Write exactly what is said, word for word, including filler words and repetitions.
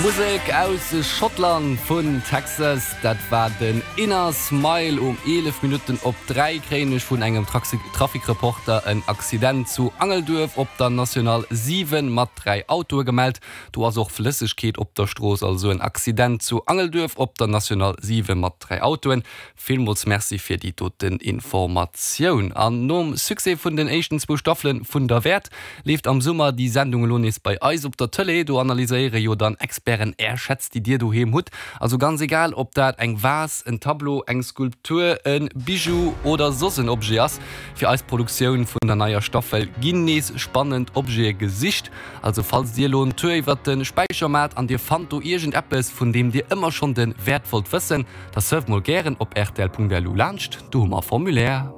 Musek aus Schottland vun Texas, dat war den Inner Smile. Um eelef Minutten op dräi kréien ech vun engem Trafikreporter en Accident zu Angelduerf op der National siwen mat dräi Autoe gemellt. Do ass och Flëssegkeet op der Strooss. Also en Accident zu Angelduerf op der National siwen mat dräi Autoen. Villmools Merci fir déi doten Informatioun. An nom Succès vun den éischten zwou Staffele vun Derwäert leeft am Summer déi Sendung elo nees bei eis op der Tëlee. Do analyséiere jo dann Experten är Schätz, déi dir doheem hutt. Also ganz egal, ob dat eng Vas, en Tableau, eng Skulptur, e Bijou oder soss en Objet ass. Fir eis Produktioun vun der neier Staffel ginn nees spannend Objete gesicht. Also falls dir elo en Tour iwwert de Späicher maacht an dir fannt do iergendeppes, vun deem dir ëmmer schonn de Wäert wollt wëssen, da surft mol gären op rtl.lu laanscht, do hu mer e Formulaire.